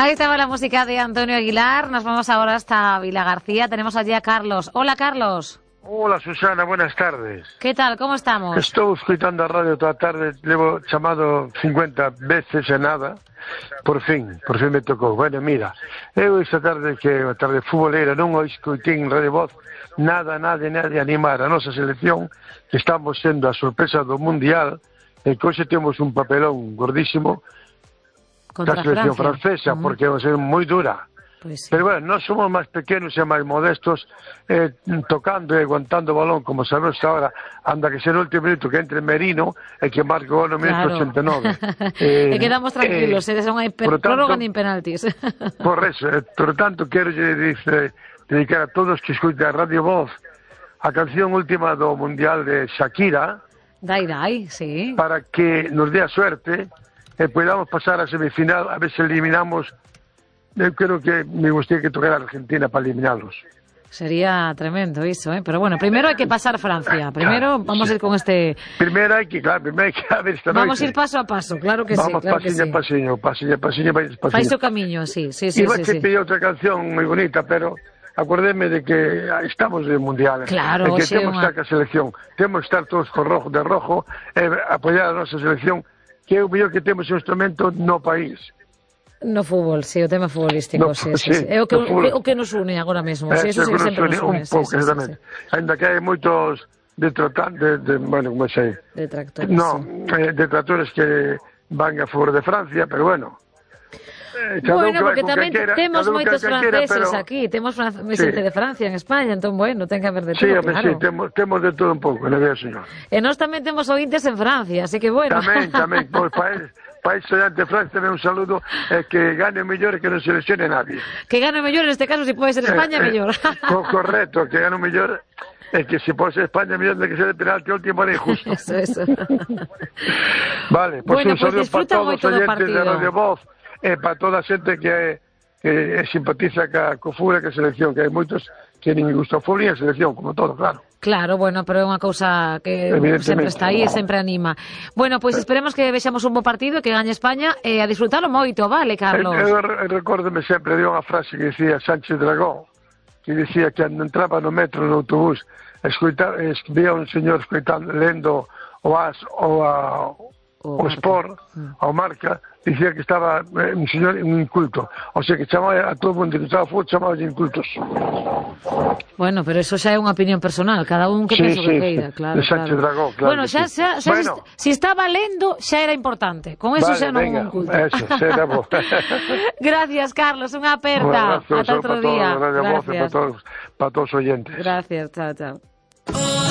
Ahí estaba la música de Antonio Aguilar. Nos vamos ahora hasta Vilagarcía. Tenemos allí a Carlos. Hola, Carlos. Hola, Susana, buenas tardes. Que tal, como estamos? Estou escoitando a radio toda a tarde, levo chamado 50 veces e nada. Por fin me tocou. Bueno, mira, eu esta tarde que é a tarde futbolera non o escoitín en Radio Voz nada de animar a nosa selección, que estamos sendo a sorpresa do Mundial, e que hoxe temos un papelón gordísimo Contra da selección francesa, porque vai ser moi dura. Pues sí. Pero bueno, nós somos máis pequenos e máis modestos, tocando e aguantando o balón, como sabemos ahora, anda que ser o último minuto que entre Merino e que marque o no minuto 89. E quedamos tranquilos, non hai prórroga nin penaltis. Por eso, por tanto, quero dedicar a todos que escoiten a Radio Voz a canción última do Mundial de Shakira, Dai, sí. para que nos dé a suerte e podamos pasar a semifinal, a ver se eliminamos. Eu creo que me gustaría que tocara a Argentina para eliminarlos. Sería tremendo iso, ¿eh? Pero bueno, primero hay que pasar Francia. Primero vamos a ir con este... Primero hay que a ver esta Vamos noite. a ir paso a paso, claro que vamos sí. Claro pasiño, pasiño. Fais o camiño, sí. E vai que pide outra canción moi bonita, pero acordeme de que estamos en Mundial. Claro, e que temos que estar ca selección. Temos que estar todos de rojo e apoiar a nosa selección, que é o mellor que temos un instrumento no país. No fútbol, sí, o tema futbolístico, no, sí. É o que nos une agora mesmo, sí, eso sí que sempre nos une. Un pouco, exatamente. Ainda que hai moitos bueno, como sei. Detractores. No, detractores que van a favor de Francia, pero bueno. Bueno, porque tamén temos moitos franceses aquí, temos xente de Francia en España, entón, bueno, ten que haber de todo, claro. Sí, temos de todo un pouco, non é, señor? E nós tamén temos ointes en Francia, así que, bueno. Tamén, pois país de Francia, un saludo, que gane o mellor e que non se lesione nadie. Que gane o mellor, en este caso, si pode ser España, mellor. Correcto, que gane o mellor, e que se pode ser España, mellor de que ser de penalti ao último era injusto. Eso. Vale, pois un saludo para todos os oyentes de Radio Voz, e para toda a xente que simpatiza co fútbol e ca selección, que hai moitos que nin gustofobia a selección, como todo, claro. Claro, bueno, pero é unha cousa que sempre está aí e sempre anima. Bueno, pois esperemos que vexamos un bo partido e que gañe España e a disfrutalo moito, vale, Carlos? Eu recórdome sempre de unha frase que dicía Sánchez Dragó, que dicía que cando entraba no metro, no autobús, vía un señor lendo o AS o Sport, o Marca, dicía que estaba un señor inculto, o sea que chamaba a todo mundo que estaba fútbol, chamaba de incultos. Bueno, pero eso xa é unha opinión personal, cada un que pensa que queira, claro. De Sánchez Dragó, claro. Bueno, xa si estaba lendo, xa era importante, con eso xa non é un culto. Eso, xa era bo. Gracias, Carlos, unha aperta. Ata outro día. Gracias. Para todos os oyentes. Gracias, chao.